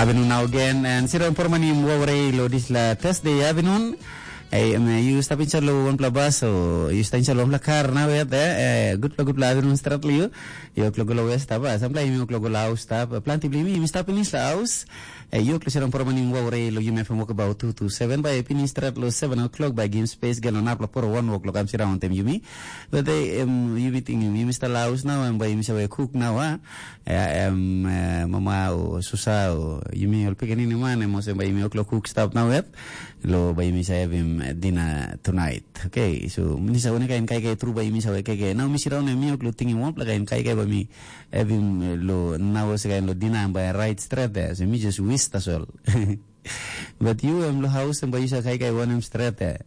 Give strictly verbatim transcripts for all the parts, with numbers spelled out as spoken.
Avinun nau gen, and sira pormanim wawre lo disla Thursday avinun. Ei, em, eh, yu stap inside lo wanpela bus, o yu stap inside lo wanpela kar nau yet, eh, eh, gutpela, gutpela avinun strat lo yu. Yu klok lo west stap, ah, sampela yu klok lo aus stap, eh, planti bli mi, mi stap inside aus. Eh, yu klok sira pormanim wawre lo yu mefem wok about two to seven, by pinis strat lo seven o'clock, by game space, gelo napla poro one o'clock, am sira ontem yumi. But, eh, em, yumi ting, yumi stap lo aus nau, em by yumi save cook nau, ah. Ya, em, eh, mama o susa o yumi ol pikinini man, em olsem bai yumi oklo cook stap nau yet. Lo bai yumi sa havim, eh, dinner tonight. Okay, so mi sa wane kain kaikai tru bai yumi sa kaikai. Nau mi siraun em mi oklo tingim wanpela kain kaikai bai mi havim, eh, lo nau se kain lo dinner bai right straight there. So mi just wish tasol. But you em lo house em bai you sa kaikai wanem straight there.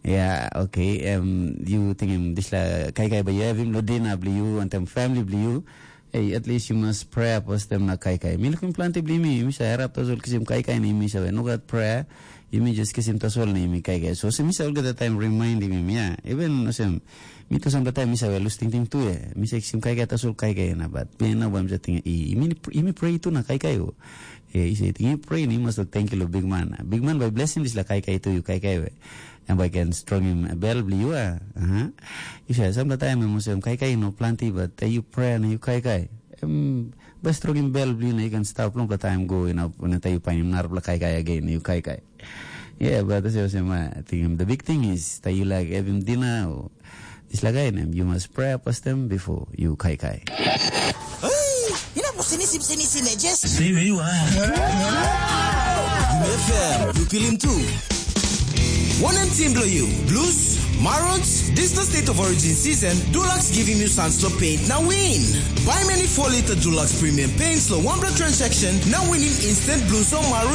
Yeah, okay. Em, you tingim disla kaikai bai you havim lo dinner bli you and them family bli you. Hey, at least you must pray apos tem na kaikai. Mi lukim planti bli mi, mi sa erap tasol kisim kaikai na mi sa no gat prayer. Yumi just kisim tasol na yumi kaikai. So se mi sa olgeta taim reminding mi, ya. Even no sem, mi tu sampela taim mi sa lus tingting tu, ya. Mi sa kisim kaikai tasol kaikai na bat. Mi na bam sa ting, i, mi, mi pray tu na kaikai o. Ya, i sa ting, i pray ni mas thank you lo big man. Big man by blessing disla kaikai tu, you kaikai we. Em bai ken strongim bel bli yu, a? Aha. Yu sa, sampela taim em olsem kaikai no planti, but te yu prea na yu kaikai. Em bai strongim bel bli yu na yu ken stap longpela taim go, yu na, na te yu painim narapela kaikai again na yu kaikai. Yeah, but that's olsem, I think the big thing is that you like havim dinner o dispela kain em, you must pray first them before you kaikai. Hey, you know, sini sim sini sini just Stay where you are. F M, you feel him too. Wanem team bilong you? Blues? Marons? Dis na State of Origin season, Dulux givim yu sans lo paint na win. Buy many four liter Dulux premium paints lo one blood transaction na winim instant Blues o Marons